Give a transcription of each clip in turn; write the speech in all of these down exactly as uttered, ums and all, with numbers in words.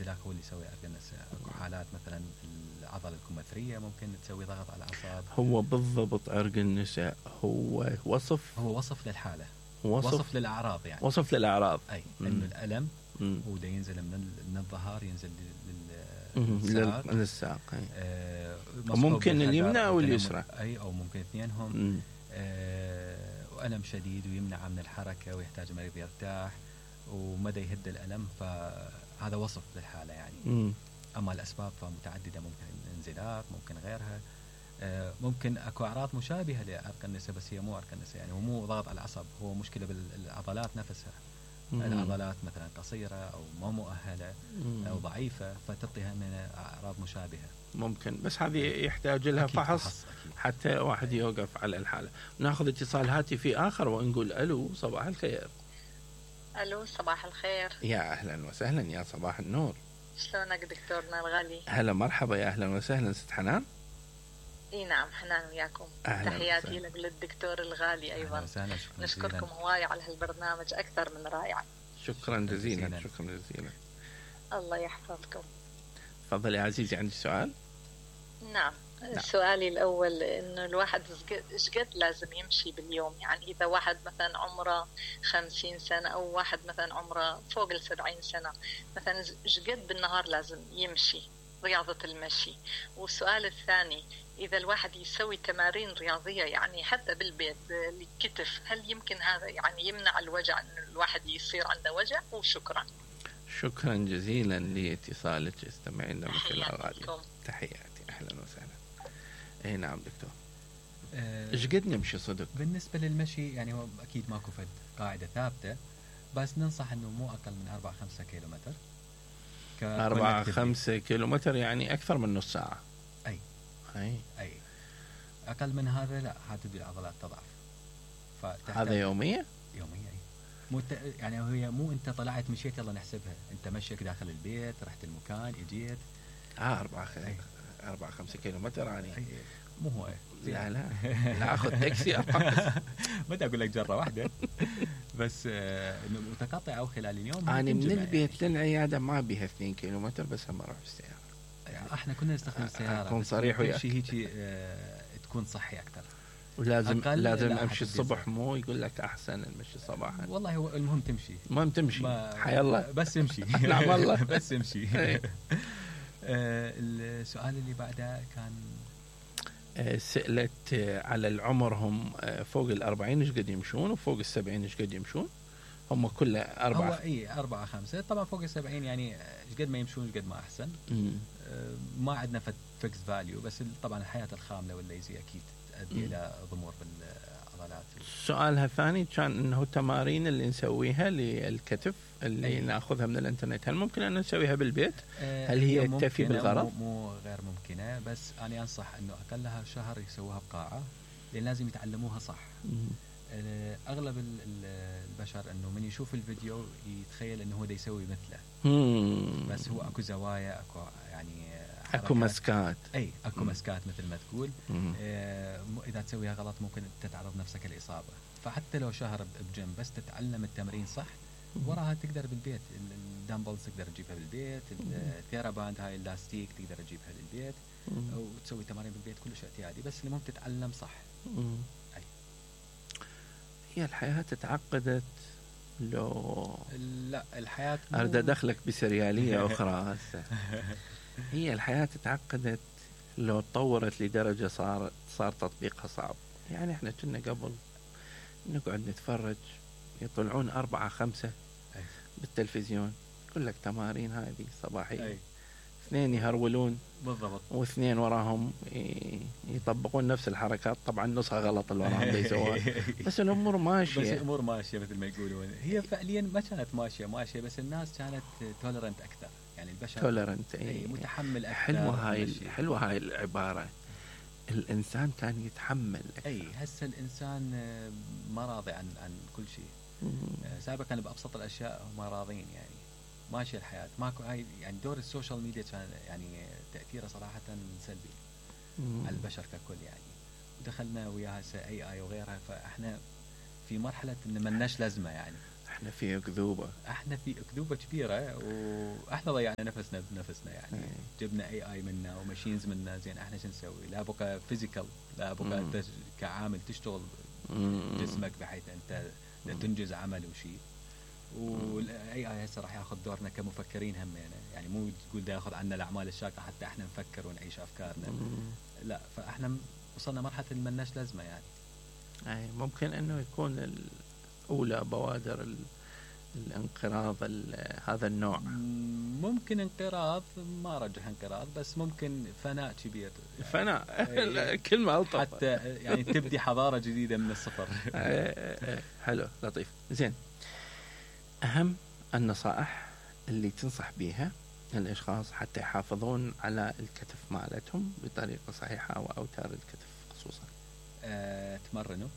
الانزلاق هو اللي يسوي ارقى النساء. اكو حالات مثلا العضله الكمثريه ممكن تسوي ضغط على الاعصاب. هو بالضبط عرق النساء هو وصف هو وصف للحاله، وصف, وصف للاعراض يعني، وصف للاعراض اي انه الالم هو دا ينزل من من الظهر ينزل للساق للساق آه ممكن اليمنى او اليسرى، اي او ممكن اثنينهم آه والم شديد ويمنع من الحركه ويحتاج المريض يرتاح ومدى يهد الالم، فهذا وصف للحاله يعني. م. اما الاسباب فمتعدده، ممكن انزلاق، ممكن غيرها، آه ممكن اكو اعراض مشابهه لعرق النساء بس هي مو عرق النساء يعني، هو مو ضغط على العصب، هو مشكله بالعضلات نفسها. مم. العضلات مثلا قصيرة أو ما مؤهلة مم. أو ضعيفة فتعطيها من أعراض مشابهة ممكن، بس هذه يحتاج لها فحص, فحص حتى واحد يوقف على الحالة. ناخذ اتصال هاتفي آخر ونقول ألو صباح الخير. ألو صباح الخير. يا أهلا وسهلا، يا صباح النور. شلونك دكتورنا الغالي؟ هلا مرحبا، يا أهلا وسهلا ست حنان. اي نعم حنان وياكم. تحياتي لك للدكتور الغالي ايضا. وسهلا. نشكركم هواي على هالبرنامج اكثر من رائع. شكرا جزيلا. شكرا جزيلا. الله يحفظكم. تفضل يا عزيزي، عندي سؤال. نعم. نعم. سؤالي الاول انه الواحد ايش قد لازم يمشي باليوم؟ يعني اذا واحد مثلا عمره خمسين سنة او واحد مثلا عمره فوق السبعين سنة مثلا ايش قد بالنهار لازم يمشي رياضة المشي؟ والسؤال الثاني، إذا الواحد يسوي تمارين رياضية يعني حتى بالبيت للكتف، هل يمكن هذا يعني يمنع الوجع، أن الواحد يصير عنده وجع؟ وشكرا. شكرا جزيلا لاتصالك، استمعين لنا مثل الراديو. تحياتي، أهلا وسهلا. أي نعم دكتور. إيش قد نمشي صدق؟ بالنسبة للمشي يعني هو أكيد ماكو فد قاعدة ثابتة، بس ننصح أنه مو أقل من أربعة خمسة كيلومتر. أربعة خمسة كيلومتر يعني أكثر من نص ساعة. أي أي أي أقل من هذا لا، هتبدي العضلات تضعف. هذا يومية؟ يومية أي. مو يعني هي مو أنت طلعت مشيت يلا نحسبها، أنت مشيك داخل البيت، رحت المكان، إجيت. آه أربعة خ... أربعة خمسة كيلومتر يعني. أي. مو هو. لا لا لا أخذ تاكسي أربعة. بدي أقول لك جرة واحدة. بس إنه متقطع أو خلال اليوم. أنا من البيت يعني للعيادة ما بيها اثنين كيلومتر، بس هم أروح بالسيارة. يعني احنا كنا نستخدم السيارة. أكون صريح وياك. شيء هيك اه تكون صحي أكثر. ولازم لازم أمشي الصبح، مو يقول لك أحسن المشي صباحا. والله هو المهم تمشي. المهم تمشي. حي الله. بس امشي. نعم والله. بس امشي. اه السؤال اللي بعده كان سألت على العمر، هم فوق الأربعين إيش قد يمشون وفوق السبعين إيش قد يمشون؟ هم كله أربعة. هو إيه أربعة خمسة طبعا. فوق السبعين يعني إيش قد ما يمشون إيش قد ما أحسن. م. ما عندنا فيكس فاليو، بس طبعا الحياة الخاملة والليزي أكيد تؤدي إلى ضمور بالعضلات. سؤالها الثاني كان إنه التمارين اللي نسويها للكتف اللي أي. نأخذها من الإنترنت، هل ممكن أن نسويها بالبيت؟ آه هل هي تكفي بالغرض؟ مو, مو غير ممكنة، بس أنا أنصح إنه أقلها شهر يسووها بقاعة، لأن لازم يتعلموها صح. م. أغلب البشر إنه من يشوف الفيديو يتخيل إنه هو دا يسوي مثله. مم. بس هو أكو زوايا، أكو يعني أكو مسكات. أي أكو مم. مسكات مثل ما تقول. آه إذا تسويها غلط ممكن تتعرض نفسك الإصابة. فحتى لو شهر بجيم بس تتعلم التمرين صح، وراها تقدر بالبيت. الدامبلز تقدر تجيبها بالبيت، الثيراباند هاي اللاستيك تقدر تجيبها للبيت وتسوي تمارين بالبيت كلش اعتيادي، بس المهم تتعلم صح. مم. أي. هي الحياة تعقدت لو لا الحياة أريد أدخلك بسريالية أخرى هسه. هي الحياة تعقدت لو تطورت لدرجة صار صار تطبيقها صعب. يعني احنا كنا قبل نقعد نتفرج يطلعون أربعة خمسة أي. بالتلفزيون يقول لك تمارين هذه صباحية أي. اثنين يهرولون بالضبط، واثنين وراهم يطبقون نفس الحركات، طبعا نصها غلط اللي وراهم يسوون. بس الامور ماشيه، بس الامور ماشيه مثل ما يقولون. هي فعليا ما كانت ماشيه ماشيه بس الناس كانت تولرنت اكثر، يعني البشر تولرنت اي متحمل اكثر. حلوه هاي حلوه هاي العباره، الانسان كان يتحمل أكثر. اي هسه الانسان ما راضي عن عن كل شيء. سابقا كان بابسط الاشياء هم راضين، يعني ماشي الحياة ماكو هاي. يعني دور السوشيال ميديا كان يعني تأثيره صراحة سلبي مم. على البشر ككل. يعني دخلنا وياها اي اي وغيرها، فاحنا في مرحلة ان ملناش لازمة. يعني احنا في اكذوبه احنا في اكذوبه كبيره، واحنا ضيعنا نفسنا بنفسنا يعني. أي. جبنا اي اي منا وماشينز منا، زين احنا شو نسوي؟ لا بقى فيزيكال، لا بقى مم. انت كعامل تشتغل مم. جسمك بحيث انت تنجز عمل وشيء. والاي اي هسه راح ياخذ دورنا كمفكرين همينه، يعني مو تقول دا ياخذ عنا الاعمال الشاقه حتى احنا نفكر ونعيش افكارنا. مم. لا، فاحنا وصلنا مرحله اللي ملناش لازمه يعني. اي ممكن انه يكون اولى بوادر الانقراض هذا النوع. ممكن انقراض، ما رجح انقراض، بس ممكن فناء كبير. فناء كلمة ألطف، حتى يعني تبدي حضارة جديدة من الصفر. حلو لطيف. زين، أهم النصائح اللي تنصح بيها الأشخاص حتى يحافظون على الكتف مالتهم بطريقة صحيحة أو أوتار الكتف خصوصا؟ أه، تمرنوا،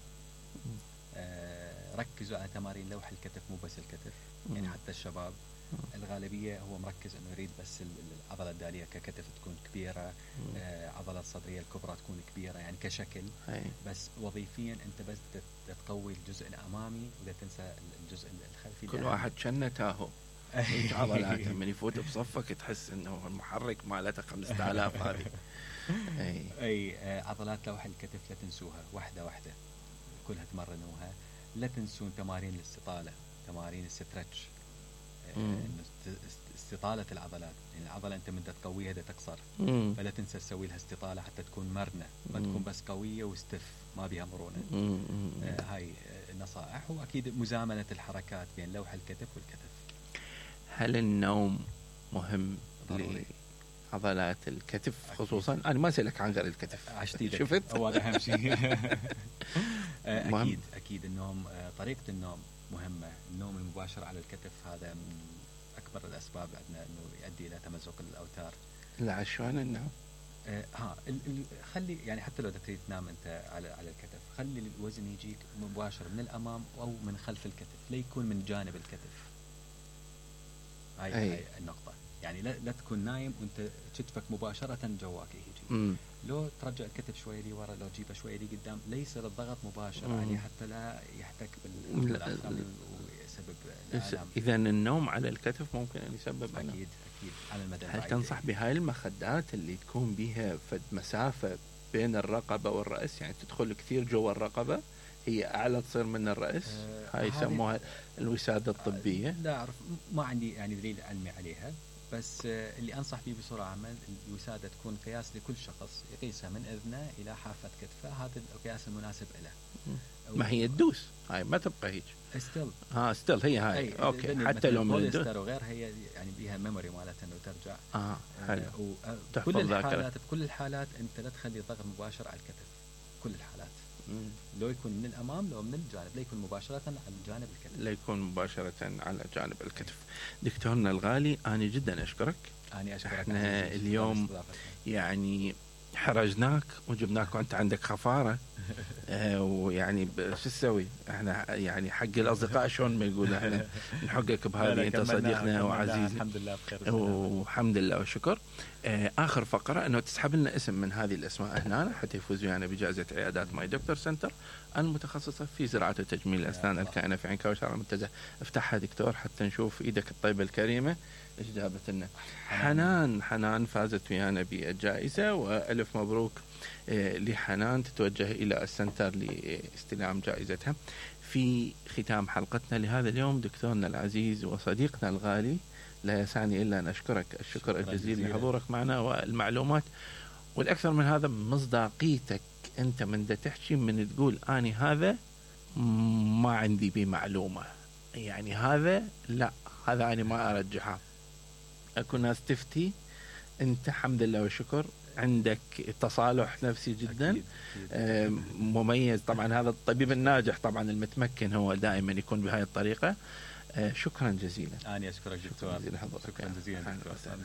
أه، ركزوا على تمارين لوح الكتف، مو بس الكتف. مم. يعني حتى الشباب مم. الغالبية هو مركز انه يريد بس العضلة الدالية ككتف تكون كبيرة، آه عضلة الصدرية الكبرى تكون كبيرة يعني كشكل. هي. بس وظيفيا انت بس تقوي الجزء الامامي ولا تنسى الجزء الخلفي. كل واحد شنه تاهو عضلاته من يفوت بصفك تحس انه المحرك مالته خمسة آلاف هذه. اي اي آه عضلات لوح الكتف لا تنسوها، واحدة واحدة كلها تمرنوها. لا تنسون تمارين الاستطالة، تمارين السترتش، استطالة العضلات. يعني العضلة أنت من تقويها دا تقصر، مم. فلا تنسى تسوي لها استطالة حتى تكون مرنة، ما مم. تكون بس قوية وستف ما بها مرونة. آه هاي النصائح. وأكيد مزامنة الحركات بين لوح الكتف والكتف. هل النوم مهم ضروري لعضلات الكتف أكيد. خصوصا؟ أنا ما أسألك عن غير الكتف، عشتيدك شفت؟ هو أهم شيء. أكيد أكيد النوم، طريقة النوم مهمة. النوم المباشر على الكتف هذا من أكبر الأسباب عندنا إنه يؤدي إلى تمزق الأوتار. لا عشان النوم آه ها ال ال خلي يعني حتى لو تريد تنام أنت على على الكتف، خلي الوزن يجيك مباشر من الأمام أو من خلف الكتف، لا يكون من جانب الكتف. هاي, هاي النقطة. يعني لا, لا تكون نايم وأنت كتفك مباشرة جواك يجي. مم. لو ترجع الكتف شوي لي ورا، لو تجيبه شوي لي قدام، لا يصير الضغط مباشر مم. عليه حتى لا يحتك بالآخر ويسبب الآلام. إذا النوم على الكتف ممكن أن يسبب أكيد ألم. أكيد على المدى هل تنصح بهاي المخدات اللي تكون بها فد مسافة بين الرقبة والرأس، يعني تدخل كثير جوا الرقبة هي أعلى تصير من الرأس؟ آه هاي يسموها الوسادة الطبية. آه لا أعرف، ما عندي يعني دليل علمي عليها، بس آه اللي أنصح به بصورة عامة الوسادة تكون قياس لكل شخص، يقيسها من أذنه إلى حافة كتفه، هذا القياس المناسب له. ما هي تدوس هاي ما تبقى هيك ستيل. ها ستيل هي هاي أي اوكي حتى لو من الدوس وغيرها هي يعني بيها ميموري مالتها انه ترجع. اه حلو. آه كل الحالات بكل الحالات انت لا تخلي الضغط مباشر على الكتف، كل الحالات. مم. لو يكون من الامام لو من الجانب، لا يكون مباشره على جانب الكتف، لا يكون مباشره على جانب الكتف. دكتورنا الغالي انا جدا اشكرك. انا اشكرك. احنا اليوم يعني حرجناك وجبناك وانت عندك خفاره. آه ويعني شو تسوي احنا يعني حق الاصدقاء شلون ما يقول احنا نحقك بهذه، انت صديقنا وعزيزنا الحمد لله بخير والحمد لله والشكر. آه اخر فقره انه تسحب لنا اسم من هذه الاسماء هنا حتى يفوزوا يعني بجائزه عيادات ماي دكتور سنتر المتخصصه في زراعه وتجميل الاسنان الكائنه في عين كوثر المنتزه. افتحها دكتور حتى نشوف ايدك الطيبه الكريمه ايش جابت لنا. حنان حنان فازت ويانا بالجائزه، والف مبروك لحنان، تتوجه إلى السنتر لاستلام جائزتها. في ختام حلقتنا لهذا اليوم دكتورنا العزيز وصديقنا الغالي، لا يسعني إلا أن أشكرك الشكر الجزيل لحضورك معنا والمعلومات، والأكثر من هذا مصداقيتك. أنت من دا تحكي من تقول أني هذا ما عندي بمعلومة، يعني هذا لا هذا أنا ما أرجحه. أكو ناس تفتي، أنت الحمد لله والشكر عندك تصالح نفسي جدا. أكيد. أكيد. مميز طبعا. هذا الطبيب الناجح طبعا المتمكن هو دائما يكون بهاي الطريقة. شكرا جزيلا. أنا أشكرك دكتور. شكرا جزيلا دكتور.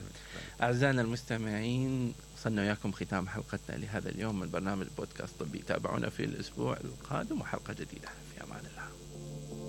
أعزائنا المستمعين، وصلنا وياكم ختام حلقتنا لهذا اليوم من برنامج بودكاست طبي. تابعونا في الأسبوع القادم وحلقة جديدة. في أمان الله.